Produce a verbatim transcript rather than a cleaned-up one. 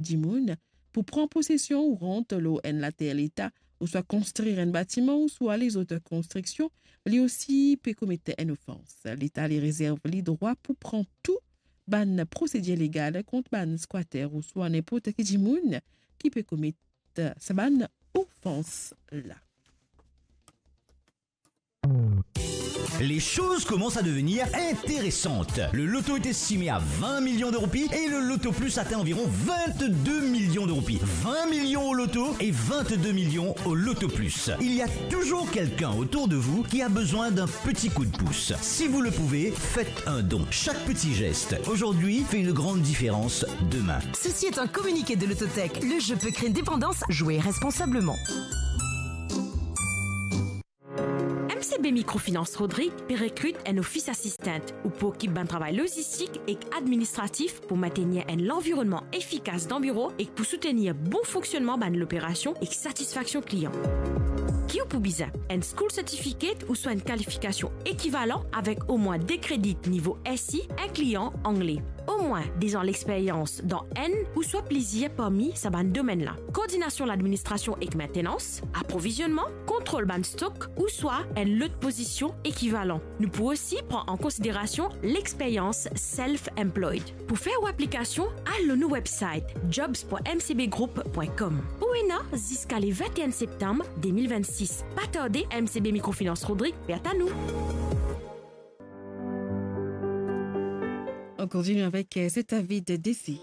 dimoun pou pran posesion ou rant lor enn later Leta, ouswa konstrir enn batiman, ouswa lezot konstriksion, li osi pe komet enn ofans. Leta li rezerv li drwa pou pran tou bann prosedir legal kont bann skwater ouswa ninport ki dimoun ki pe komet sa bann ofans la. Les choses commencent à devenir intéressantes. Le loto est estimé à vingt millions de roupies et le loto plus atteint environ vingt-deux millions de roupies. Vingt millions au loto et vingt-deux millions au loto plus. Il y a toujours quelqu'un autour de vous qui a besoin d'un petit coup de pouce. Si vous le pouvez, faites un don. Chaque petit geste aujourd'hui fait une grande différence demain. Ceci est un communiqué de Lototech. Le jeu peut créer une dépendance. Jouez responsablement. M C B Microfinance Rodrig pe rekrit enn office assistant ou pou okip bann travay lozistik ek administratif pou maintenir enn lanvironnman efikas dan biro ek pou soutenir bon fonksionnman bann loperasion ek satisfaksion klian. Ki ou pou bizin? Enn school certificate ouswa enn kalifikasion ekivalan avek omwin de kredi nivo S I, inklian angle. Omwin dez an lexperyans dan enn ouswa plizir parmi sa bann domenn la: koordinasion ladministrasion ek maintenans, aprovizionnman, kontrol bann stok ouswa enn lot pozision ekivalan. Nou pou osi pran an konsiderasion lexperyans self-employed. Pou fer ou aplikasion, al lor nou website jobs point m c b group point com. Ou ena ziska le vinteen septam de mil vennsis. Pa tarde, M C B Microfinance Rodrig pe atann ou. On continue avec, euh, cet avis de décès.